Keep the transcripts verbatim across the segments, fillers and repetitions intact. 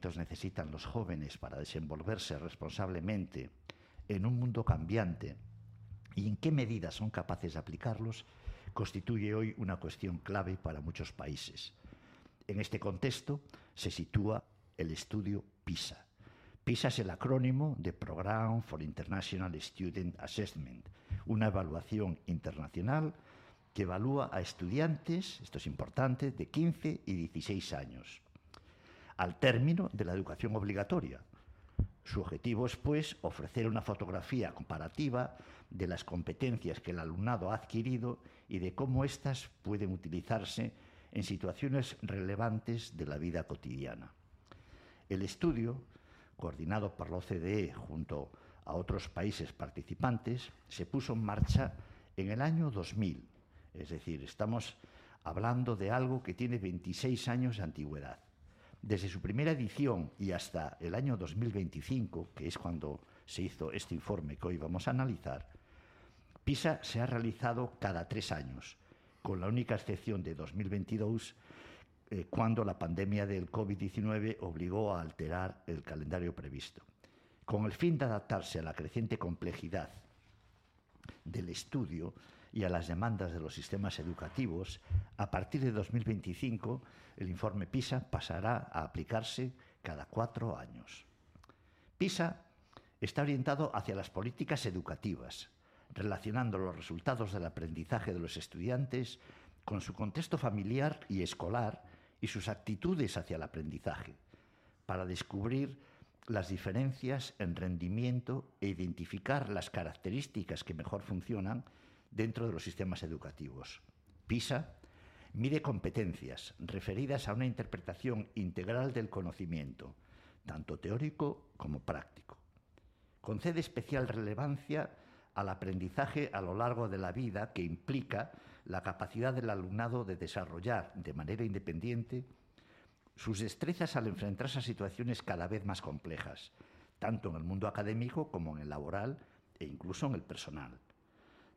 conocimientos necesitan los jóvenes para desenvolverse responsablemente en un mundo cambiante y en qué medida son capaces de aplicarlos, constituye hoy una cuestión clave para muchos países. En este contexto se sitúa el estudio PISA. PISA es el acrónimo de Program for International Student Assessment, una evaluación internacional que evalúa a estudiantes, esto es importante, de quince y dieciséis años, al término de la educación obligatoria. Su objetivo es, pues, ofrecer una fotografía comparativa de las competencias que el alumnado ha adquirido y de cómo éstas pueden utilizarse en situaciones relevantes de la vida cotidiana. El estudio, coordinado por la O C D E junto a otros países participantes, se puso en marcha en el año dos mil. Es decir, estamos hablando de algo que tiene veintiséis años de antigüedad. Desde su primera edición y hasta el año dos mil veinticinco, que es cuando se hizo este informe que hoy vamos a analizar, PISA se ha realizado cada tres años, con la única excepción de dos mil veintidós, eh, cuando la pandemia del COVID diecinueve obligó a alterar el calendario previsto. Con el fin de adaptarse a la creciente complejidad del estudio y a las demandas de los sistemas educativos, a partir de dos mil veinticinco el informe PISA pasará a aplicarse cada cuatro años. PISA está orientado hacia las políticas educativas, relacionando los resultados del aprendizaje de los estudiantes con su contexto familiar y escolar y sus actitudes hacia el aprendizaje, para descubrir las diferencias en rendimiento e identificar las características que mejor funcionan dentro de los sistemas educativos. PISA mide competencias referidas a una interpretación integral del conocimiento, tanto teórico como práctico. Concede especial relevancia al aprendizaje a lo largo de la vida, que implica la capacidad del alumnado de desarrollar de manera independiente sus destrezas al enfrentarse a situaciones cada vez más complejas, tanto en el mundo académico como en el laboral e incluso en el personal.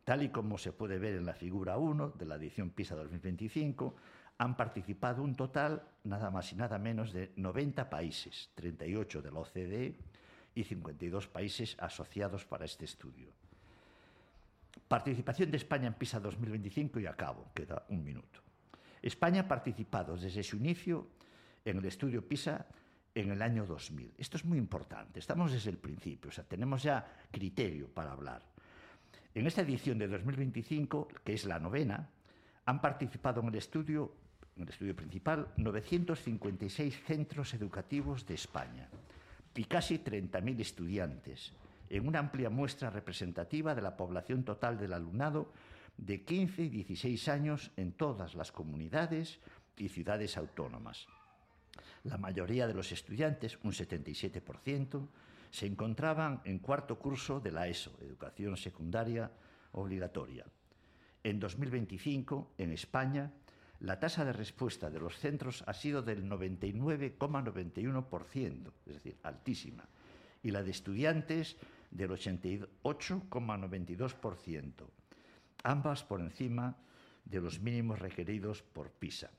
Tal y como se puede ver en la figura uno de la edición PISA dos mil veinticinco, han participado un total, nada más y nada menos, de noventa países, treinta y ocho de la O C D E y cincuenta y dos países asociados para este estudio. Participación de España en PISA dos mil veinticinco y acabo, queda un minuto. España ha participado desde su inicio en el estudio PISA en el año dos mil. Esto es muy importante, estamos desde el principio, o sea, tenemos ya criterio para hablar. En esta edición de dos mil veinticinco, que es la novena, han participado en el estudio, en el estudio principal, novecientos cincuenta y seis centros educativos de España y casi treinta mil estudiantes, en una amplia muestra representativa de la población total del alumnado de quince y dieciséis años en todas las comunidades y ciudades autónomas. La mayoría de los estudiantes, un setenta y siete por ciento, se encontraban en cuarto curso de la ESO, Educación Secundaria Obligatoria. En dos mil veinticinco, en España, la tasa de respuesta de los centros ha sido del noventa y nueve coma noventa y uno por ciento, es decir, altísima, y la de estudiantes del ochenta y ocho coma noventa y dos por ciento, ambas por encima de los mínimos requeridos por PISA.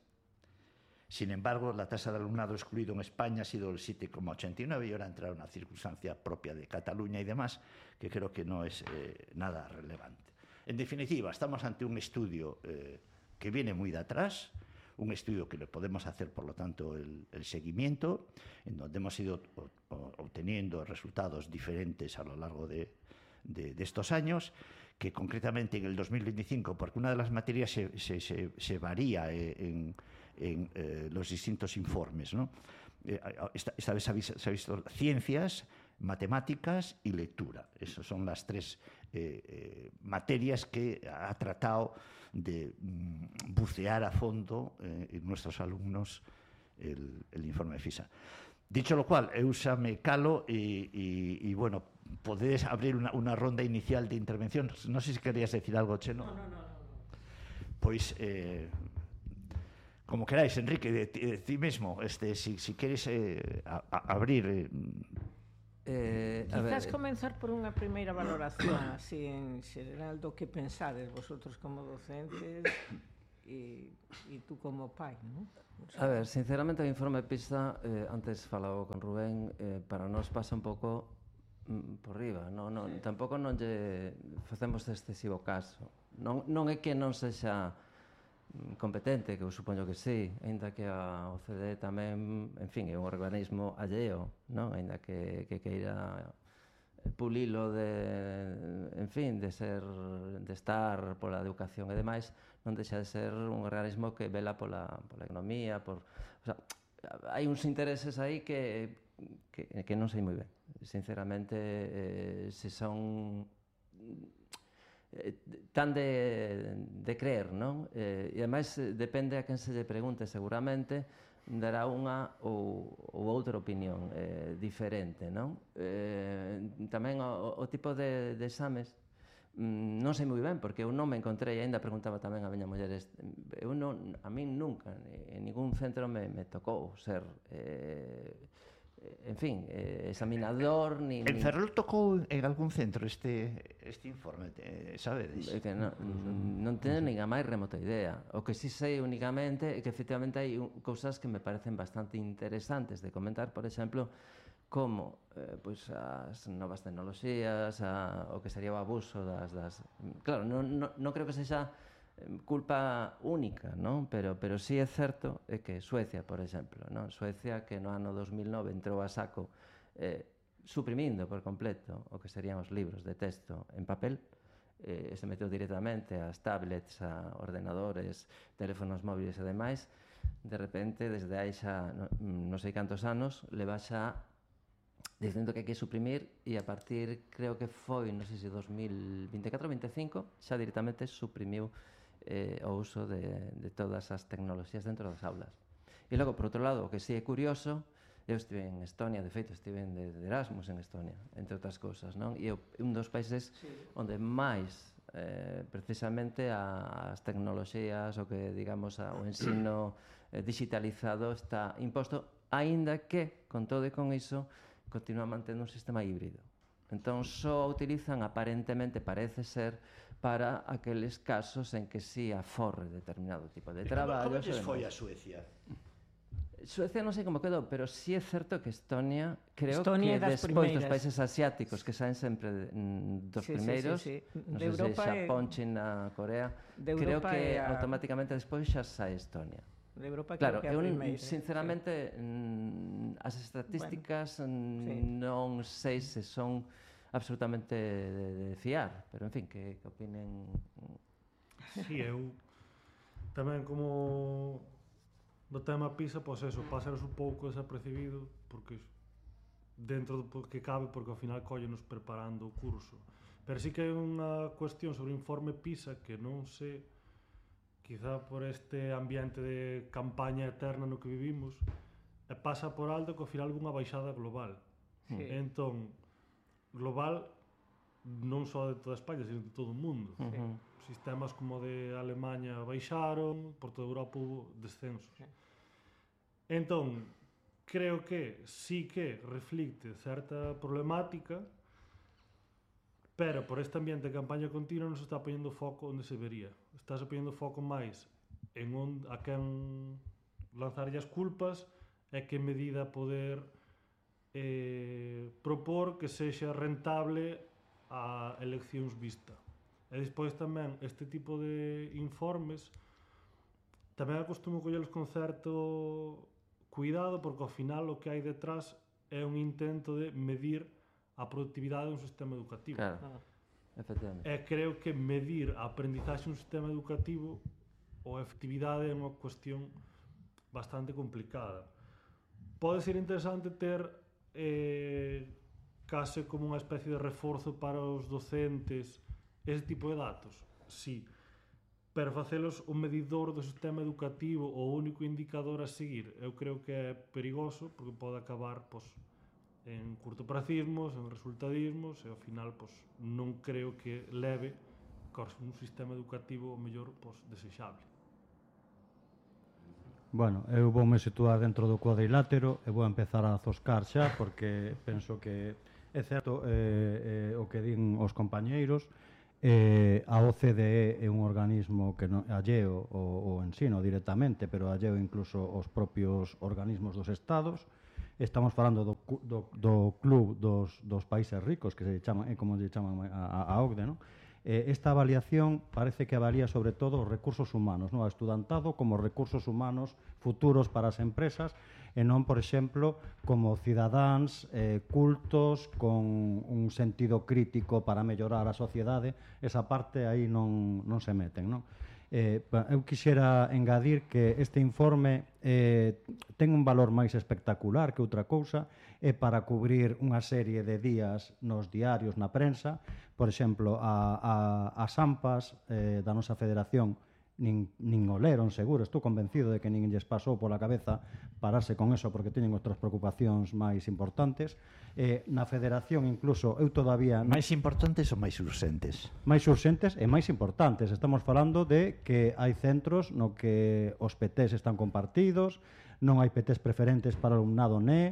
Sin embargo, la tasa de alumnado excluido en España ha sido el siete coma ochenta y nueve y ahora entra una circunstancia propia de Cataluña y demás, que creo que no es eh, nada relevante. En definitiva, estamos ante un estudio eh, que viene muy de atrás, un estudio que le podemos hacer, por lo tanto, el, el seguimiento, en donde hemos ido obteniendo resultados diferentes a lo largo de, de, de estos años, que concretamente en el dos mil veinticinco, porque una de las materias se, se, se, se varía en, en eh, los distintos informes, ¿no? Eh, esta, esta vez se ha, visto, se ha visto ciencias, matemáticas y lectura. Esas son las tres eh, eh, materias que ha tratado de mm, bucear a fondo eh, en nuestros alumnos el, el informe PISA. Dicho lo cual, Eusa me calo y, y, y bueno, podéis abrir una, una ronda inicial de intervención. No sé si querías decir algo, Cheno. No, no, no. no. Pues, eh, como queráis, Enrique, de, de ti mismo, este, si, si queres eh, a, a abrir... Eh, Eh, Quizás ver, comenzar por unha primeira valoración así en xeral do que pensades vosotros como docentes e, e tú como pai, non? O A sea, ver, sinceramente o informe PISA, eh, antes falaba con Rubén, eh, para nós pasa un pouco mm, por riba, non, non, tampouco non lle facemos excesivo caso. Non, non é que non sexa mm, competente, que eu supoño que sí, aínda que a O C D E tamén, en fin, é un organismo alleo, non? Aínda que, que queira pulilo de, en fin, de ser, de estar pola educación e demais, non deixa de ser un organismo que vela pola, pola economía, por, o sea, hai uns intereses aí que, que, que non sei moi ben, sinceramente, eh, se son eh, tan de, de creer, non? Eh, e ademais depende a quen se lle pregunte, seguramente dará unha ou, ou outra opinión eh, diferente, non? Eh, tamén o, o tipo de, de exames mm, non sei moi ben, porque eu non me encontrei, ainda preguntaba tamén a miña muller, eu non, a min nunca, en ningún centro me, me tocou ser eh, en fin, eh, examinador ni, En ni... Ferrol tocou en algún centro este, este informe, eh, sabedes? É que non, non teño nin a máis remota idea. O que si sei únicamente é que efectivamente hai un, cousas que me parecen bastante interesantes de comentar, por exemplo, como eh, pois as novas tecnoloxías, a, o que sería o abuso das... das claro, non, non, non creo que sexa culpa única, non? Pero, pero sí é certo é que Suecia, por exemplo, non? Suecia que no ano dos mil nove entrou a saco eh, suprimindo por completo o que serían os libros de texto en papel, eh, se meteu directamente ás tablets, a ordenadores, teléfonos móviles e demais, de repente, desde hai xa non no sei cantos anos, leva xa dicindo que hai que suprimir e a partir, creo que foi, non sei se dos mil veinticuatro ou veinticinco, xa directamente suprimiu eh, o uso de, de todas as tecnoloxías dentro das aulas. E logo, por outro lado, o que sí é curioso, eu estive en Estonia, de feito, estive de, de Erasmus en Estonia, entre outras cousas, non? E é un dos países sí. onde máis, eh, precisamente, a, as tecnoloxías, o que, digamos, a, o ensino eh, digitalizado está imposto, aínda que, con todo e con iso, continúa mantendo un sistema híbrido. Entón, só utilizan, aparentemente, parece ser, para aqueles casos en que sí aforre determinado tipo de traballo. Como lles foi a Suecia? Suecia non sei como quedou, pero sí é certo que Estonia, creo Estonia que despois dos países asiáticos, que saen sempre mm, dos sí, primeiros, sí, sí, sí. non sei sei se Xapón, China, Corea, creo que a... automáticamente despois xa sae Estonia. De Europa claro, creo que eu, primeira, sinceramente, sí. as estatísticas bueno, sí. non sei se son absolutamente de, de fiar, pero en fin, que, que opinen... Sí, eu tamén como do tema PISA, pois eso, pásanos un pouco desapercibido, porque dentro do que cabe, porque ao final collenos preparando o curso. Pero sí que hai unha cuestión sobre o informe PISA que non sei, quizá por este ambiente de campaña eterna no que vivimos, e pasa por alto que ao final unha baixada global. Sí. Entón, global non só de toda España, sino de todo o mundo. Sí. Sistemas como de Alemanha baixaron, por toda Europa hubo descensos. Sí. Entón, creo que sí que reflicte certa problemática, pero por este ambiente de campaña continua non se está poñendo foco onde se vería. Está se poñendo foco máis en onde, a quen lanzarlle as culpas e que medida poder eh, propor que sexa rentable a eleccións vista. E despois tamén este tipo de informes tamén acostumo collelos con certo cuidado, porque ao final o que hai detrás é un intento de medir a productividade dun sistema educativo. Claro, efectivamente. E creo que medir a aprendizaxe dun sistema educativo ou a efectividade é unha cuestión bastante complicada. Pode ser interesante ter eh, case como unha especie de reforzo para os docentes ese tipo de datos, sí, pero facelos o medidor do sistema educativo o único indicador a seguir, eu creo que é perigoso, porque pode acabar pois, en curtopracismos, en resultadismos, e ao final pois, non creo que leve a un sistema educativo o mellor pois, desexable. Bueno, eu voume situar dentro do cuadrilátero e vou empezar a zoscar xa, porque penso que é certo eh, eh, o que din os compañeiros. Eh, a O C D E é un organismo que non alleo o, o ensino directamente, pero alleo incluso os propios organismos dos estados. Estamos falando do, do, do club dos, dos países ricos, que se chaman, é como se chaman a, a O C D E, non? Eh, esta avaliación parece que avalía sobre todo os recursos humanos, non? A estudantado como recursos humanos futuros para as empresas, e non, por exemplo, como cidadáns eh, cultos con un sentido crítico para mellorar a sociedade. Esa parte aí non, non se meten, non? Eh, eu quixera engadir que este informe eh, ten un valor máis espectacular que outra cousa, é para cubrir unha serie de días nos diarios, na prensa. Por exemplo, a, a, as AMPAs eh, da nosa federación nin, nin o leron, seguro, estou convencido de que nin lles pasou pola cabeza pararse con eso porque teñen outras preocupacións máis importantes. Eh, na federación incluso eu todavía... Máis importantes ou máis urxentes? Máis urxentes e máis importantes. Estamos falando de que hai centros no que os P Ts están compartidos, non hai P Ts preferentes para o alumnado N E,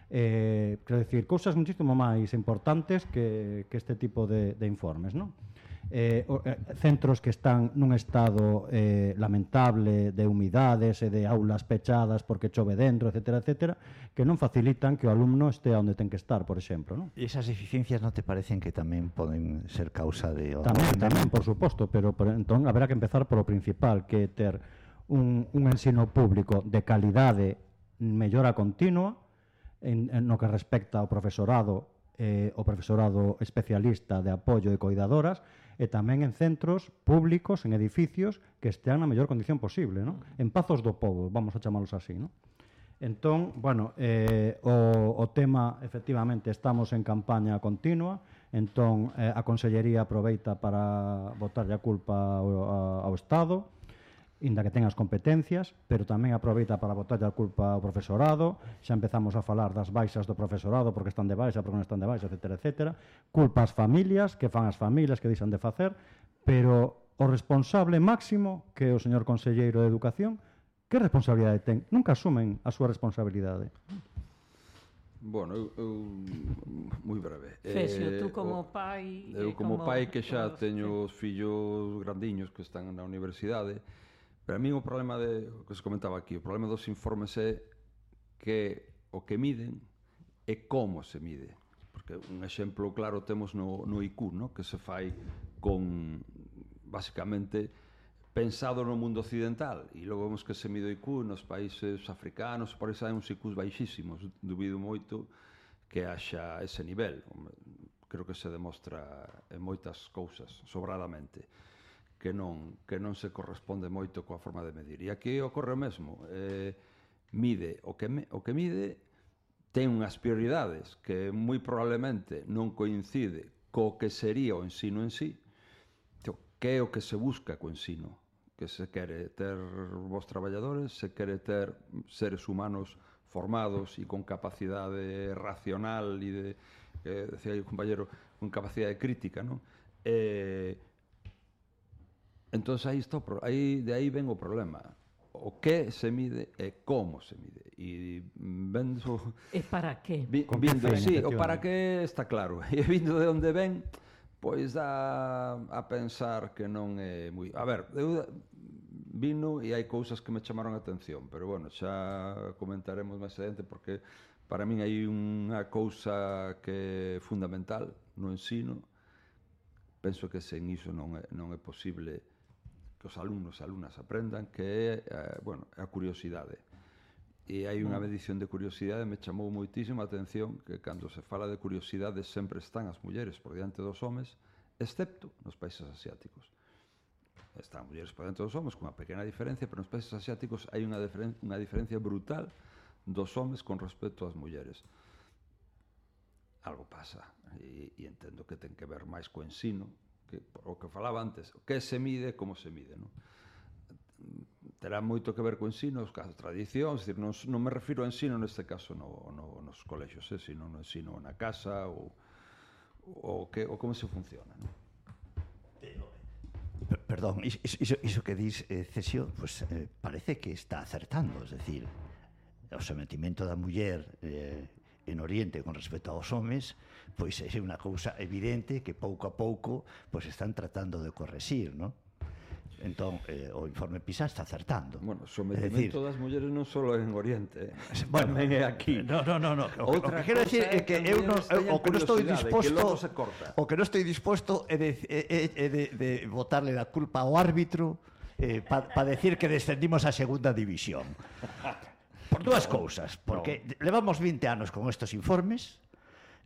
eh, quero dicir, cousas muchísimo máis importantes que, que este tipo de, de informes, non? Eh, eh, centros que están nun estado eh, lamentable de humidades e de aulas pechadas porque chove dentro, etcétera, etcétera, que non facilitan que o alumno estea onde ten que estar, por exemplo, non? E esas deficiencias non te parecen que tamén poden ser causa de... Tamén, tamén, por suposto, pero por, entón haberá que empezar polo principal, que é ter un, un ensino público de calidade, mellora continua, en, en no que respecta ao profesorado, eh, o profesorado especialista de apoio e coidadoras, e tamén en centros públicos, en edificios que estean na mellor condición posible, non? En pazos do povo, vamos a chamalos así, non? Entón, bueno, eh, o, o tema, efectivamente, estamos en campaña continua, entón eh, a Consellería aproveita para botarlle a culpa ao, ao Estado, inda que ten as competencias, pero tamén aproveita para botarlle a culpa ao profesorado. Xa empezamos a falar das baixas do profesorado porque están de baixa, porque non están de baixa, etcétera, etcétera. Culpa ás familias, que fan as familias, que deixan de facer, pero o responsable máximo, que é o señor Conselleiro de Educación, que responsabilidade ten? Nunca asumen a súa responsabilidade. Bueno, eu, eu moi breve. Fesio, Eh, tú como o- pai... Eu e como pai que xa todos, teño os fillos grandiños que están na universidade, pero a mí o problema de, o que se comentaba aquí, o problema dos informes é que o que miden é como se mide. Porque un exemplo claro temos no, no I Q, no? Que se fai con, basicamente, pensado no mundo occidental, e logo vemos que se mide o I Q nos países africanos, por eso hai uns I Qs baixísimos. Dubido moito que haxa ese nivel. Creo que se demostra en moitas cousas, sobradamente, que non, que non se corresponde moito coa forma de medir. E aquí ocorre o mesmo. Eh, mide o que, me, o que mide ten unhas prioridades que moi probablemente non coincide co que sería o ensino en sí, que é o que se busca co ensino, que se quere ter vos traballadores, se quere ter seres humanos formados e con capacidade racional e de, que decía o compañero, con capacidade crítica, non? Eh, entón aí está, aí, de aí ven o problema. O que se mide e como se mide. E vendo... E para qué? Vi, Con vindo, que fin, sí, o efectivamente. para que está claro. E vindo de onde ven, pois dá a pensar que non é moi... A ver, eu vino e hai cousas que me chamaron a atención, pero bueno, xa comentaremos máis adiante porque para min hai unha cousa que é fundamental no ensino. Penso que sen iso non é, non é posible que os alumnos e alumnas aprendan, que é, eh, bueno, a curiosidade. E hai unha medición de curiosidade, me chamou moitísima atención que cando se fala de curiosidade sempre están as mulleres por diante dos homes, excepto nos países asiáticos. Están mulleres por diante dos homes, con unha pequena diferencia, pero nos países asiáticos hai unha, diferen, unha diferencia brutal dos homes con respecto ás mulleres. Algo pasa, e, e entendo que ten que ver máis co ensino, que, o que falaba antes, o que se mide, como se mide, non? Terá moito que ver co ensino, os casos, tradicións, decir, non, non me refiro ao ensino neste caso no, no, nos colexios, eh, sino no ensino na casa ou, ou, que, ou como se funciona, non? Perdón, iso, iso, iso que dis, eh, Cesio, pues, eh, parece que está acertando, es decir, o sometimento da muller eh, en Oriente con respecto aos homes, pois é unha cousa evidente que pouco a pouco pois están tratando de correxir, non? Entón, eh, o informe PISA está acertando. Bueno, o É sometimento dicir, das mulleres non só en Oriente, eh. bueno, tamén é aquí. No, no, no, no. O, o Outra que quero decir cousa é que é que eu non, mulleres teñan o que non estou curiosidade, disposto que logo se corta. o que non estou disposto é de, é, é de, de botarle la culpa ao árbitro eh, para pa decir que descendimos a segunda división. Por dúas cousas, porque no. levamos vinte anos con estos informes,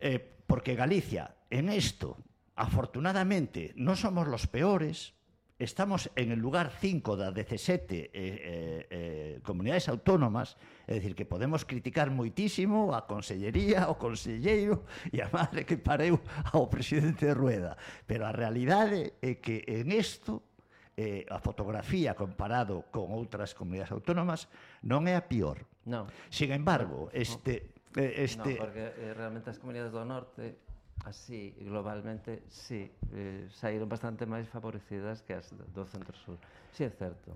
eh, porque Galicia en esto, afortunadamente, non somos los peores. Estamos en el lugar cinco da dezasete eh, eh, eh, comunidades autónomas, é dicir, que podemos criticar moitísimo a Consellería, o Conselleiro e a madre que pareu ao presidente de Rueda. Pero a realidade é que en isto, eh, a fotografía comparado con outras comunidades autónomas non é a pior. No. Sin embargo, este... Eh, este... No, porque eh, realmente as comunidades do norte así, globalmente, sí, eh, saíron bastante máis favorecidas que as do centro-sur. Sí, é certo.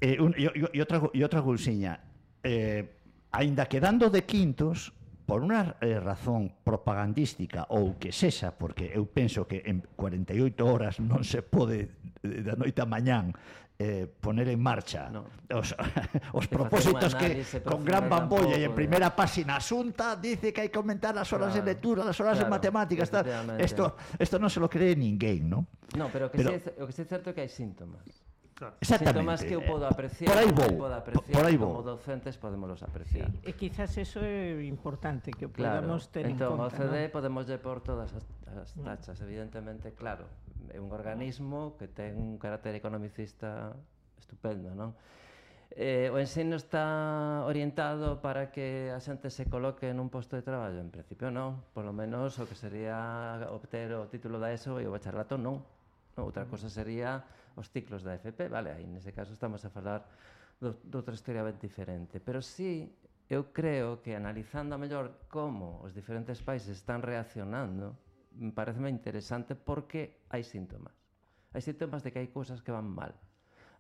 Eh, un, e, e, outra, e outra cousiña, eh, aínda quedando de quintos, por unha eh, razón propagandística ou que sexa, porque eu penso que en cuarenta e oito horas non se pode da noite a mañán eh, poner en marcha no. os, os propósitos que con gran bambolla e en primeira páxina asunta dice que hai que aumentar as horas claro, de lectura, as horas claro, de matemáticas, tal. Esto, esto non se lo cree ninguén, ¿no? No, pero, que pero sí, o que sí é certo é que hai síntomas. Claro. Síntomas que eu podo apreciar, por aí vou, que podo apreciar, por aí como vou. docentes podemos apreciar. Sí, e quizás eso é importante que o Claro, podamos ter entón, en o conta, C D ¿no? podemos lle por todas as, as tachas, evidentemente, claro, é un organismo que ten un carácter economicista estupendo, non? Eh, o ensino está orientado para que a xente se coloque nun posto de traballo? En principio non, polo menos o que sería obter o título da ESO e o bacharelato non. No, outra cosa sería os ciclos da F P, vale, aí nese caso estamos a falar de outra historia ben diferente, pero sí, eu creo que analizando a mellor como os diferentes países están reaccionando, pareceme interesante porque hai síntomas. Hai síntomas de que hai cousas que van mal.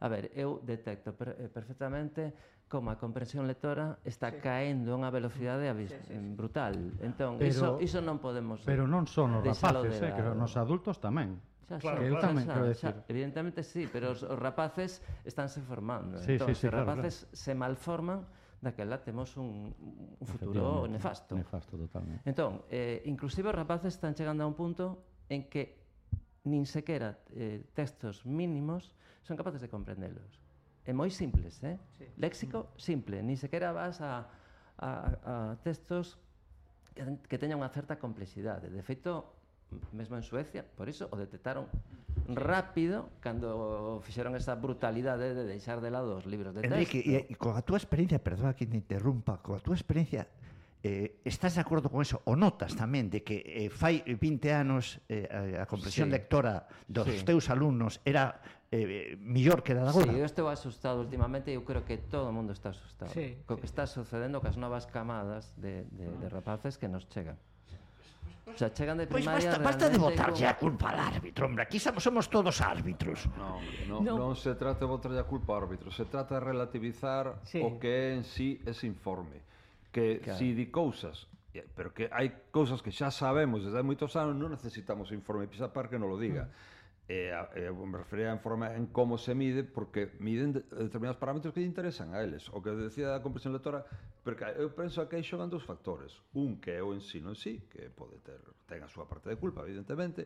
A ver, eu detecto per, eh, perfectamente como a comprensión lectora está Sí. caendo a unha velocidade abis, Sí, sí, sí. brutal. Entón, Pero- iso, iso non podemos Pero non son os deixalo rapaces, de eh, que lado. nos adultos tamén. Xa, Claro, xa, eu xa, tamén xa, quero xa. decir. Evidentemente sí, pero os, os rapaces estánse formando. Sí, entón, sí, sí, se os claro, rapaces se malforman, daquela temos un, un futuro Efectivamente, nefasto. Nefasto, totalmente. Entón, eh, inclusive os rapaces están chegando a un punto en que nin sequera eh, textos mínimos son capaces de comprendelos. É moi simples, eh? Sí. Léxico simple, nin sequera vas a, a, a textos que, que teñan unha certa complexidade. De feito, mesmo en Suecia, por iso o detectaron rápido cando fixeron esa brutalidade de deixar de lado os libros de texto. Enrique, e, e con a túa experiencia, perdona que te interrumpa, con a túa experiencia, eh, estás de acordo con eso? O notas tamén de que eh, fai vinte anos eh, a, a comprensión Sí. lectora dos Sí. teus alumnos era eh, millor que a da agora? Sí, eu estou asustado últimamente e eu creo que todo o mundo está asustado Sí, co sí. que está sucedendo cas novas camadas de, de, de rapaces que nos chegan. O sea, chegan de Pois primaria basta, basta de realmente botarlle con- a culpa al árbitro, hombre, aquí somos, somos todos árbitros. Non, non, No. non se trata de botarlle a culpa ao árbitro, se trata de relativizar Sí. o que é en sí ese informe. Que Claro. si di cousas, eh, pero que hai cousas que xa sabemos desde hai moitos anos, non necesitamos o informe PISA para que non lo diga. E, a, e me refería a informe en como se mide, porque miden de, determinados parámetros que lle interesan a eles. O que decía da comprensión lectora, porque eu penso que aí xogan dous factores. Un que é o ensino en sí, que pode ter ten a súa parte de culpa, evidentemente,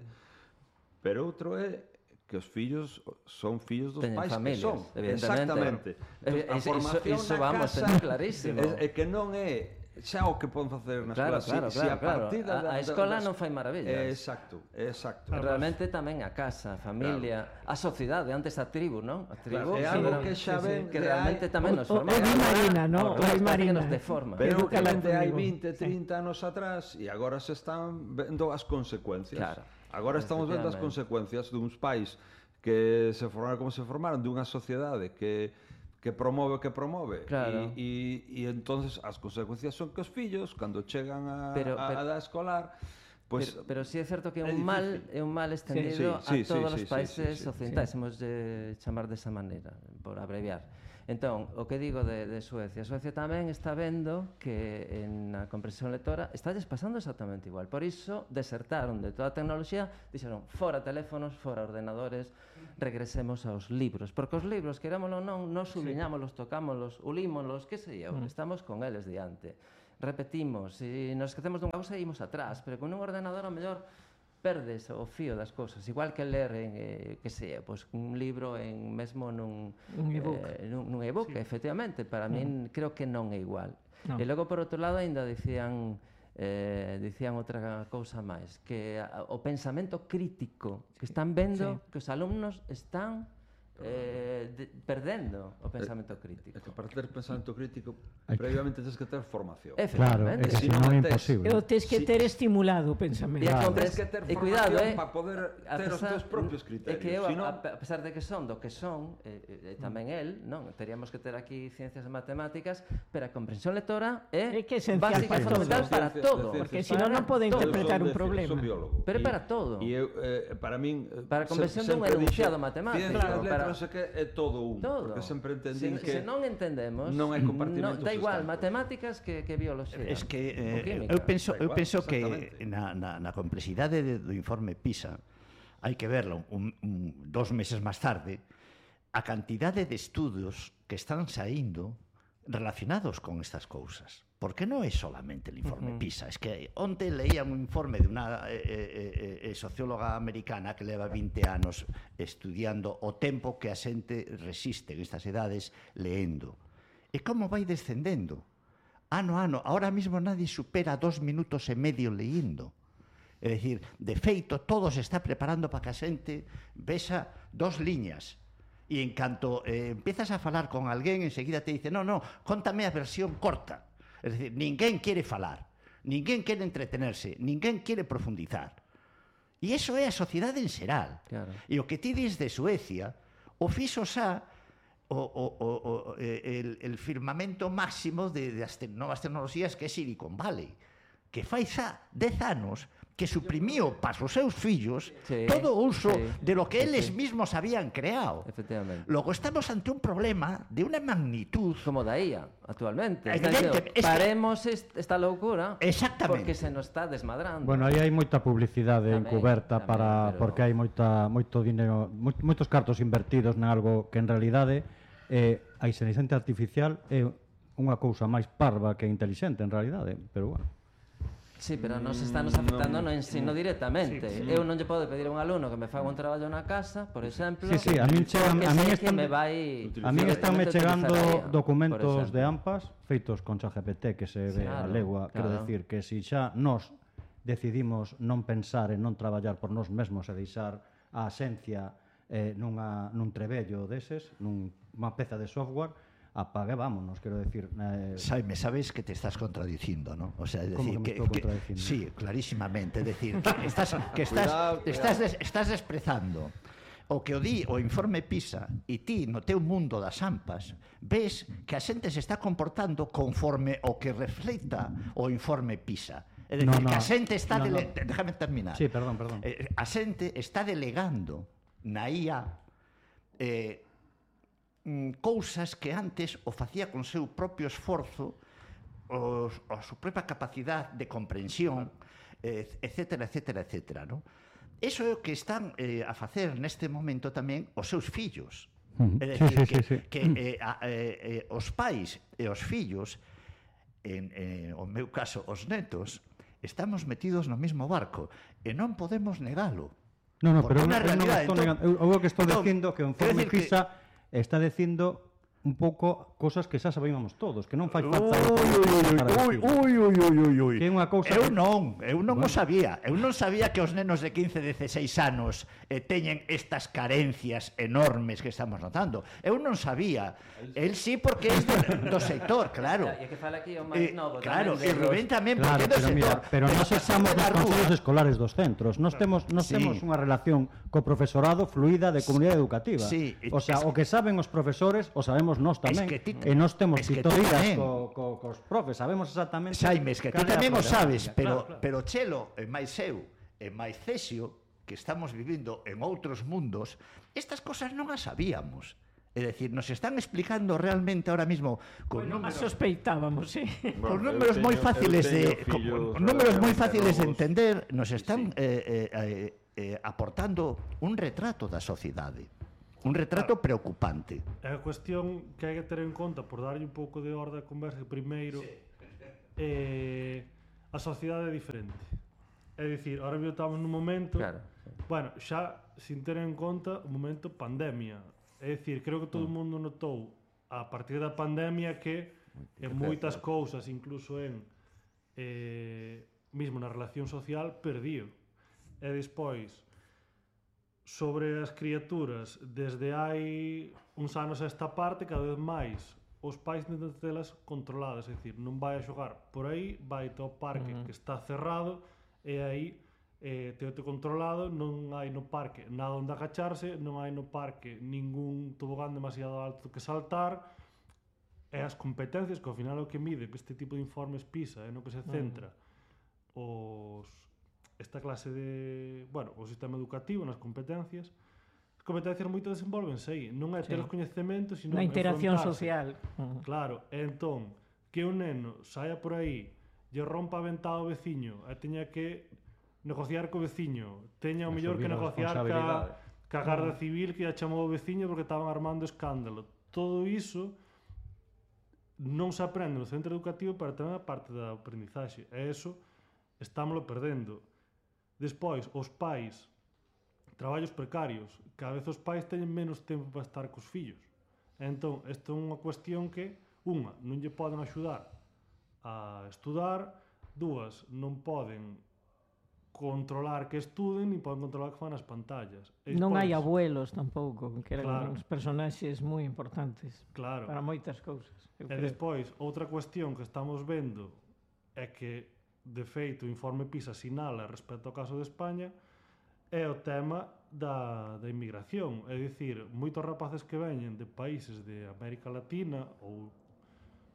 pero outro é que os fillos son fillos dos Teñen pais familias, que son. evidentemente. Exactamente. Eh, Entón, a iso- formación iso na vamos, casa teño clarísimo. É, é que non é xa o que poden facer na Claro, escola. claro, si, si claro, a claro. partir da, A- a da- escola das- non fai maravillas. É, exacto, é exacto. Realmente tamén a casa, a familia, a sociedade, antes a tribu, non? A tribu Claro, é sí, algo era- que xa sí, sí, ven que de realmente hai- tamén o- nos o- forma. o di Marina, ¿no? Ahora, O di parece que Marina. nos deforma. Pero que Educa la vende hai tribu. vinte, trinta anos atrás e agora se están vendo as consecuencias. Claro. Agora estamos vendo as Efectivamente. consecuencias duns pais que se formaron como se formaron, dunha sociedade que que promove o que promove. Claro. E, e, e entonces as consecuencias son que os fillos, cando chegan a, Pero- a, pero- a edad escolar, pues, pero, pero sí é certo que é é un mal, difícil. é un mal extendido Sí, sí, a sí, todos sí, os sí, países sí, sí. occidentais, hemos de chamar desa maneira, por abreviar. Entón, o que digo de, de Suecia, Suecia tamén está vendo que en a comprensión lectora está pasando exactamente igual. Por iso, desertaron de toda a tecnoloxía, dixeron, fora teléfonos, fora ordenadores, regresemos aos libros. Porque os libros, querámoslo ou non, nos subiñámoslos, tocámoslos, ulímoslos, que sei eu, mm. estamos con eles diante. Repetimos, se nos esquecemos dunha cousa, imos atrás, pero con un ordenador, ao mellor, perdes o fío das cousas, igual que ler en, eh, que sei, pois, un libro en mesmo nun un ebook, eh, nun, nun ebook sí. Efectivamente, para no. min creo que non é igual. No. E logo, por outro lado, ainda dicían eh, dicían outra cousa máis, que a, o pensamento crítico que están vendo sí. que os alumnos están eh, de, perdendo o pensamento crítico. É que para ter pensamento crítico previamente tens que ter formación. Claro, é que si non é imposible. E o tens que ter estimulado o pensamento. Claro. Tens que ter formación eh, para poder ter os teus propios criterios. É que eu, si no... a, a pesar de que son do que son, eh, eh, tamén el, non, teríamos que ter aquí ciencias e matemáticas, pero a comprensión lectora é, é que esencial básica e fundamental para todo, porque si non non pode interpretar un problema. Son biólogo. Pero é para todo. E eu, eh, para min, para a comprensión dun enunciado matemático, ciencias letras non sei que é todo un, todo. Porque sempre entendín se, que se non entendemos, non hai compartimentos. No, da igual matemáticas que, que bioloxía. Es que eh, eu penso, eu penso que na, na, na complexidade de, do informe PISA hai que verlo un, un, dos meses máis tarde, a cantidade de estudos que están saindo relacionados con estas cousas. Porque non é solamente el informe uh-huh. PISA, es que onte leía un informe de unha eh, eh, eh, socióloga americana que leva vinte anos estudiando o tempo que a xente resiste en estas edades leendo. E como vai descendendo? Ano a ano, ahora mismo nadie supera dos minutos e medio leyendo. É dicir, de feito, todo se está preparando para que a xente vexa dos liñas. E en canto eh, empiezas a falar con alguén, enseguida te dice, no, no, contame a versión corta. É dicir, ninguén quere falar, ninguén quere entretenerse, ninguén quere profundizar. E iso é a sociedade en xeral. Claro. E o que ti dis de Suecia, o fixo xa o, o, o, o, el, el firmamento máximo de, de as te, novas tecnoloxías que é Silicon Valley, que fai xa dez anos que suprimiu para os seus fillos sí, todo o uso sí, de lo que eles sí. mismos habían creado. Efectivamente. Logo estamos ante un problema de unha magnitud como da I A actualmente. Evidente, diciendo, paremos que... esta loucura porque se nos está desmadrando. Bueno, aí hai moita publicidade tamén, encuberta tamén, para pero... porque hai moita moito dinero, moitos cartos invertidos en algo que en realidade eh, a inteligencia artificial é unha cousa máis parva que intelixente en realidade, pero bueno. Sí, pero nos está nos afectando no ensino directamente. Sí, sí. Eu non lle podo pedir a un alumno que me faga un traballo na casa, por exemplo. Sí, sí, a min chegan, a min están me vai a min están me chegando documentos de AMPAs feitos con ChatGPT que se ve claro, a legua, claro. Quero decir que si xa nós decidimos non pensar e non traballar por nós mesmos e deixar a esencia eh, nunha, nun trebello deses, nunha peza de software, apague, vámonos, quero decir... Eh... Saime, sabes que te estás contradicindo, ¿no? O sea, es decir, que, que, que sí, clarísimamente, es decir, que estás que estás cuidado, estás des, estás desprezando o que o di o informe PISA e ti no teu mundo das AMPAs ves que a xente se está comportando conforme o que reflecta o informe PISA. É dicir, no, no, que a xente está... No, dele... no. Déjame terminar. Sí, perdón, perdón. Eh, a xente está delegando na I A eh, cousas que antes o facía con seu propio esforzo, os, a súa propia capacidade de comprensión, eh, etcétera, etcétera, etcétera, ¿no? Eso é o que están eh, a facer neste momento tamén os seus fillos. Uh-huh. É dicir, sí, sí, que, sí, sí. que eh, a, eh, eh, os pais e os fillos, en eh, o meu caso, os netos, estamos metidos no mesmo barco e non podemos negalo. No, no, pero eu non realidad, estou negando. Eu, eu que estou dicindo que o informe PISA está dicindo un pouco cosas que xa sabíamos todos, que non fai falta ui, ui, ui, ui, ui, ui. Que é unha cousa eu que... non, eu non bueno. o sabía. Eu non sabía que os nenos de quince, dezseis anos eh, teñen estas carencias enormes que estamos notando. Eu non sabía. El sí, porque é do, do sector, claro. E que fala aquí o máis novo. Claro, e Rubén tamén, claro, porque é do pero sector. Mira, pero nós estamos nos consellos escolares dos centros. Nós temos, nós sí. temos unha relación co profesorado fluida de comunidade educativa. Sí. O sea, o que saben os profesores, o sabemos nós tamén. Es que ti, e nós temos tutorías co, co, cos profes, sabemos exactamente... Saime, es que ti tamén o sabes, pero, claro, claro. pero Chelo, e máis eu, e máis Cesio, que estamos vivindo en outros mundos, estas cosas non as sabíamos. É dicir, nos están explicando realmente ahora mismo con Bueno, números, sospeitábamos, sí. con Bueno, números eu moi teño- fáciles eu de teño con, fillos con números moi relativamente fáciles de novos. entender, nos están Sí. eh, eh, eh, eh, aportando un retrato da sociedade. Un retrato preocupante. É a cuestión que hai que ter en conta, por darlle un pouco de orde á conversa, que primeiro, eh, a sociedade é diferente. É dicir, ahora mesmo estamos nun momento, Claro, sí. bueno, xa sin ter en conta o momento pandemia. É dicir, creo que todo o mundo notou a partir da pandemia que en moitas cousas, incluso en eh, mismo na relación social, perdiu. E despois, sobre as criaturas, desde hai uns anos a esta parte, cada vez máis os pais intentan telas controladas, é dicir, non vai a xogar por aí, vai ao parque uh -huh. que está cerrado e aí eh, teote controlado, non hai no parque nada onde agacharse, non hai no parque ningún tobogán demasiado alto que saltar, e as competencias, que ao final é o que mide que este tipo de informes PISA é no que se centra uh -huh. os esta clase de, bueno, o sistema educativo nas competencias. As competencias moitas desenvolvense aí, non é ter Sí. os coñecementos, sino Na interacción enfrontarse. social. Uh. Claro, e entón, que un neno saia por aí, lle rompa a ventá ao veciño, e teña que negociar co veciño, teña o mellor que Asumir a negociar ca, responsabilidade. ca Garda Civil que lle chamou o veciño porque estaban armando escándalo. Todo iso non se aprende no centro educativo, pero tamén a parte da aprendizaxe. E iso estámoslo perdendo. Despois, os pais, traballos precarios, cada vez os pais teñen menos tempo para estar cos fillos. Entón, isto é unha cuestión que, unha, non lle poden axudar a estudar, dúas, non poden controlar que estuden, nin poden controlar que fan as pantallas. E Non hai despois- abuelos tampouco, que eran Claro. uns personaxes moi importantes Claro. para moitas cousas. E eu creo. despois, outra cuestión que estamos vendo é que, de feito, o informe PISA sinala respecto ao caso de España é o tema da, da inmigración. É dicir, moitos rapaces que veñen de países de América Latina ou...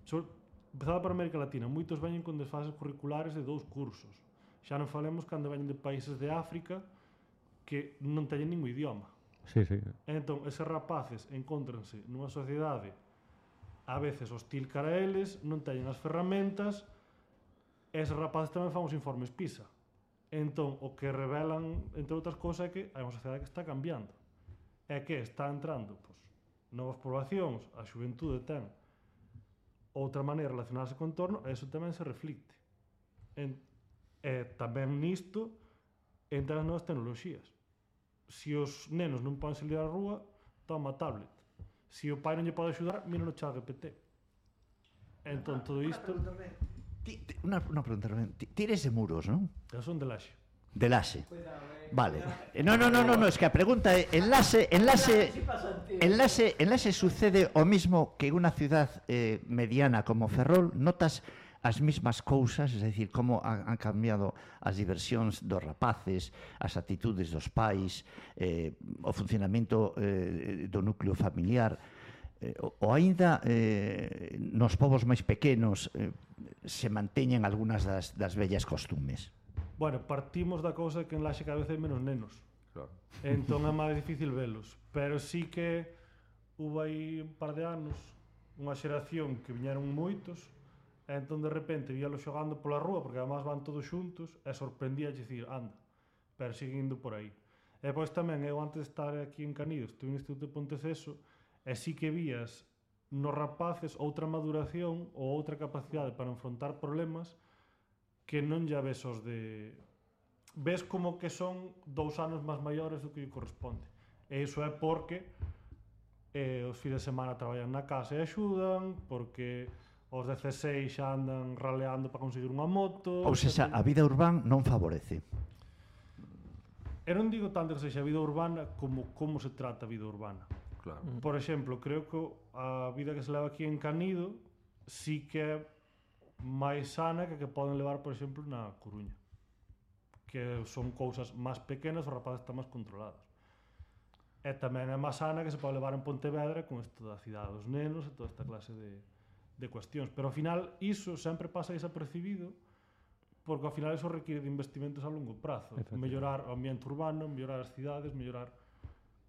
Sobre, empezado por América Latina, moitos veñen con desfases curriculares de dous cursos. Xa non falemos cando veñen de países de África que non teñen ningún idioma. Sí, sí. Entón, eses rapaces encóntranse nunha sociedade a veces hostil cara a eles, non teñen as ferramentas, e eses rapaces tamén fan os informes PISA. Entón, o que revelan, entre outras cousas, é que hai unha sociedade que está cambiando. É que está entrando pois, novas poblacións, a xuventude ten outra maneira de relacionarse co entorno, e iso tamén se reflicte. En, e tamén nisto entran as novas tecnoloxías. Se os nenos non poden salir á rúa, toma a tablet. Se o pai non lle pode axudar, mira no chat G P T. Entón, todo isto... Ti- ti- Una, una pregunta, Rubén. Ti ti eres de Muros, non? Eu son de Laxe. De Laxe. Vale. Eh, No, no, no, no, no, es que a pregunta é enlace, enlace, enlace, enlace sucede o mismo que en unha ciudad eh, mediana como Ferrol, notas as mismas cousas, es decir, como han, han cambiado as diversións dos rapaces, as actitudes dos pais, eh, o funcionamento eh, do núcleo familiar, eh, o, o aínda eh, nos povos máis pequenos eh, se manteñen algunhas das, das vellas costumes. Bueno, partimos da cousa que en Laxe cada vez hai menos nenos. Claro. Entón é máis difícil velos. Pero sí que hubo aí un par de anos unha xeración que viñeron moitos, e entón de repente víalos xogando pola rúa, porque además van todos xuntos, e sorprendía dicir, anda, pero siguen indo por aí. E depois tamén, eu antes de estar aquí en Canido, estuve no Instituto de Ponteceso, e sí que vías nos rapaces outra maduración ou outra capacidade para enfrontar problemas que non ya ves os de... Ves como que son dous anos máis maiores do que lle corresponde. E iso é porque eh, os fins de semana traballan na casa e axudan, porque os dezaseis xa andan raleando para conseguir unha moto... Ou seja, a vida urbana non favorece. E non digo tanto que sexa vida urbana como como se trata a vida urbana. Claro. Por exemplo, creo que a vida que se leva aquí en Canido sí que é máis sana que que poden levar, por exemplo, na Coruña. Que son cousas máis pequenas, os rapaces están máis controlados. E tamén é máis sana que se pode levar en Pontevedra con isto da cidade dos nenos e toda esta clase de, de cuestións. Pero ao final iso sempre pasa desapercibido porque ao final iso requiere de investimentos a longo prazo. Mellorar o ambiente urbano, mellorar as cidades, mellorar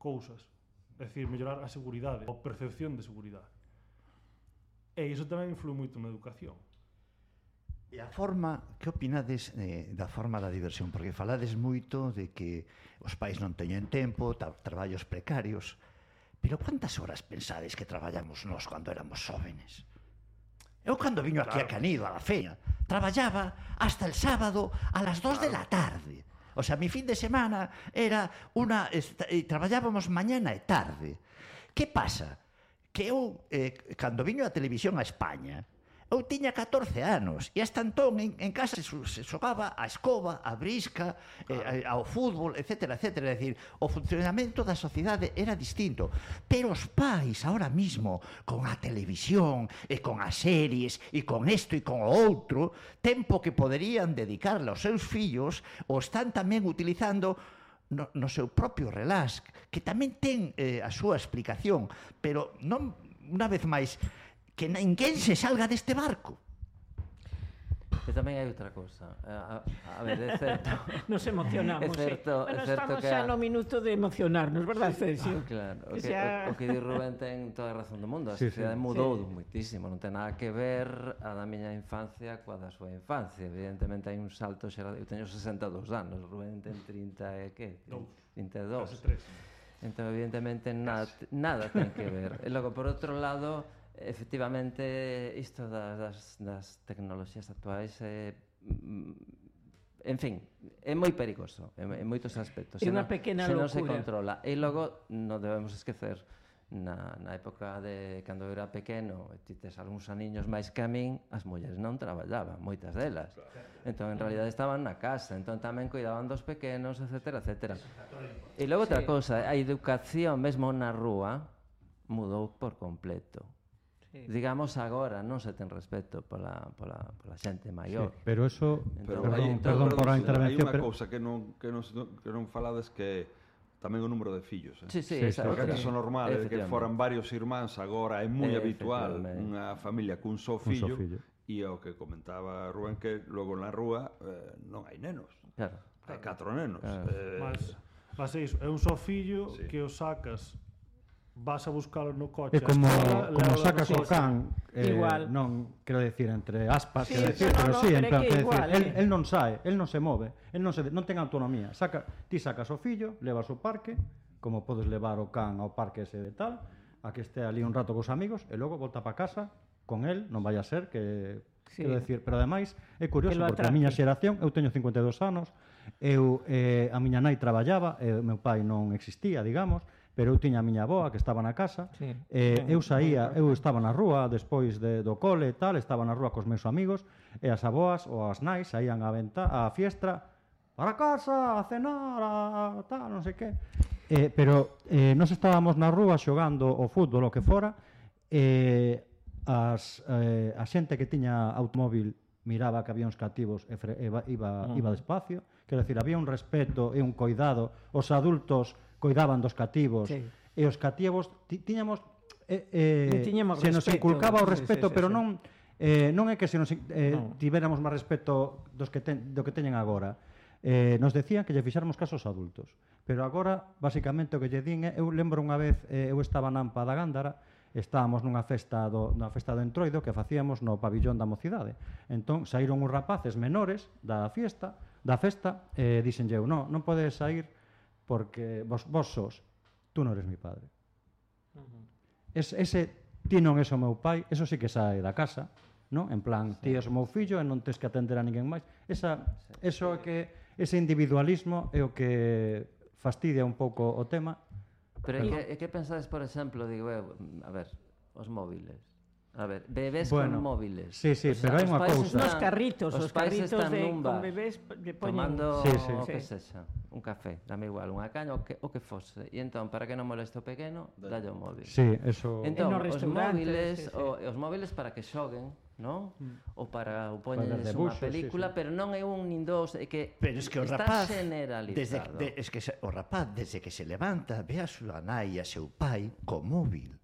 cousas. é dicir, mellorar a seguridade, a percepción de seguridade. E iso tamén influe moito na educación. E a forma, que opinades eh, da forma da diversión? Porque falades moito de que os pais non teñen tempo, tra traballos precarios, pero quantas horas pensades que traballamos nós cando éramos xóvenes? Eu cando viño aquí claro. a Canido, a la feña, traballaba hasta el sábado a las dos claro. de la tarde. O sea, mi fin de semana era una... E traballábamos mañana e tarde. Que pasa? Que eu, eh, cando viño a televisión a España, eu tiña catorce anos e hasta entón en, en casa se, se xogaba a escoba, a brisca, claro. eh, ao fútbol, etcétera, etcétera. É dicir, o funcionamento da sociedade era distinto. Pero os pais, ahora mismo, con a televisión e con as series e con isto e con o outro, tempo que poderían dedicarle aos seus fillos, o están tamén utilizando no, no seu propio relax, que tamén ten eh, a súa explicación, pero non, unha vez máis, que ninguén se salga deste barco. E tamén hai outra cousa. A, a ver, é certo. Nos emocionamos, é certo, sí. Bueno, é certo estamos que xa a... no minuto de emocionarnos, verdad, Cesio? Ah, claro, o que, xa... o, o que di Rubén ten toda a razón do mundo. A sí, sociedade sí. mudou sí. moitísimo, non ten nada que ver a da miña infancia coa da súa infancia. Evidentemente hai un salto xeral. Eu teño sesenta e dous anos, Rubén ten trinta e que? trinta e dous. Entón, evidentemente, nada, nada ten que ver. E logo, por outro lado, efectivamente, isto das, das tecnoloxías actuais é... En fin, é moi perigoso en, en moitos aspectos. É unha pequena se non locura. se controla. E logo, non debemos esquecer, na, na época de cando eu era pequeno, e ti tes algúns aniños máis que a min, as mulleres non traballaban, moitas delas. Entón, en realidad, estaban na casa, entón tamén cuidaban dos pequenos, etcétera, etcétera. E logo outra cousa, a educación mesmo na rúa mudou por completo. Sí. Digamos, agora non se ten respeto pola, pola, pola xente maior. Sí, pero eso, entón, perdón, hai, perdón, perdón por a intervención, hai unha pero... cousa que non, que, non, que non falades que tamén o número de fillos. Eh? Sí, sí, sí, Porque sí. acaso normal é que foran varios irmáns, agora é moi habitual unha familia cun só fillo, fillo. E o que comentaba Rubén, que logo na rúa eh, non hai nenos. Claro. Hai catro nenos. Claro. Eh, Mas, mas é iso, é un só fillo sí. que o sacas, vas a buscalo no coche. É como, escola, como lévalo sacas no o coche. can, eh, Igual. non, quero decir, entre aspas, Sí, quero decir, no, pero no, sí, pero en é plan, que quero igual, decir, el, eh. el non sae, el non se move, el non, se, non ten autonomía. Saca, ti sacas o fillo, levas o parque, como podes levar o can ao parque ese de tal, a que este ali un rato cos amigos, e logo volta para casa con el, non vai a ser que... Sí. Quero decir, pero ademais é curioso, Que lo porque a atrape. miña xeración, eu teño cincuenta e dous anos, eu, eh, a miña nai traballaba, e o meu pai non existía, digamos, pero eu tiña a miña avoa que estaba na casa, Sí. eh, Sí. eu saía, eu estaba na rúa despois de, do cole e tal, estaba na rúa cos meus amigos, e as avoas ou as nais saían a venta, a fiestra, para casa, a cenar, a tal, non sei que. Eh, pero eh, nos estábamos na rúa xogando o fútbol, o que fora, e as, eh, a xente que tiña automóvil miraba que había uns cativos e fre, e iba, iba, Mm. iba despacio, quero decir, había un respeto e un coidado, os adultos coidaban dos cativos, Sí. e os cativos ti, tiñamos eh, eh, Non tiñamos se nos respeto. inculcaba o Sí, respeto, sí, sí, pero sí. non eh, non é que se nos eh, Non. tivéramos máis respeto dos que ten, do que teñen agora. Eh, nos decían que lle fixáramos caso aos adultos, pero agora, basicamente, o que lle din é, eu lembro unha vez, eh, eu estaba na Ampa da Gándara, estábamos nunha festa do, na festa do Entroido que facíamos no pabillón da mocidade. Entón, saíron uns rapaces menores da fiesta, da festa, e dixenlle eu, no, non podes sair porque vos, vos sos, tú non eres mi padre. Es, ese, ti non és o meu pai, eso sí que sae da casa, non? En plan, ti és o meu fillo e non tens que atender a ninguén máis. Esa, eso é que, ese individualismo é o que fastidia un pouco o tema. Pero e que, e que pensades, por exemplo, digo, eu, a ver, os móviles. A ver, bebés Bueno, con móviles. sí, sí, O sea, pero hai os unha pais cousa. están- Os carritos, os, pais carritos están de, nun con bar, bebés lle poñen... tomando Sí, sí. o que Sí. sexa, un café, dame igual, unha caña, o que, o que fose. E entón, para que non moleste o pequeno, dalle o móvil. Sí, eso... Entón, nos os restaurantes, móviles, sí, sí. o, os móviles para que xoguen, non? Mm. Ou para o Para poñeles ver unha debuxos, película, sí, sí. pero non é un nin dos, é que Pero es que o está rapaz, generalizado. desde, de, es que se, o rapaz, desde que se levanta, ve a súa nai e a seu pai co móvil.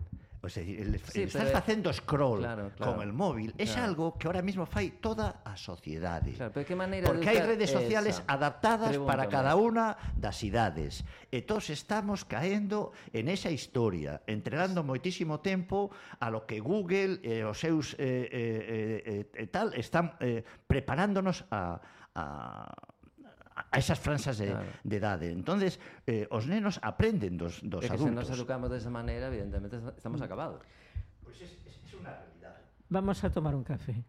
O sea, el, Sí, el estás pero- facendo scroll Claro, claro, con el móvil é claro. algo que ahora mismo fai toda a sociedade. Claro, pero que maneira Porque de hai usar redes sociales esa? adaptadas para Pregúntame. cada unha das idades. E todos estamos caendo en esa historia, entregando moitísimo tempo a lo que Google e os seus eh, eh, eh, eh, tal están eh, preparándonos a, a a esas franxas de, Claro. de idade. Entonces, eh, os nenos aprenden dos, dos É que se nos adultos. educamos desa maneira, evidentemente estamos acabados. Pois es, es, es unha realidade. Vamos a tomar un café.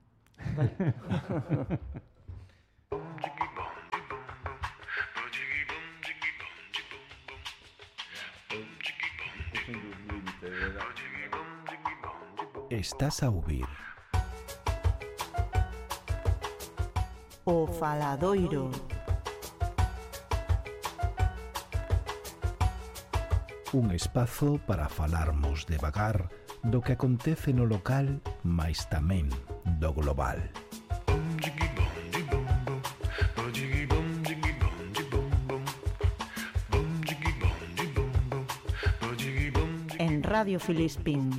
Estás a ouvir O Faladoiro. un espazo para falarmos devagar do que acontece no local, mais tamén do global. En Radio Filispín.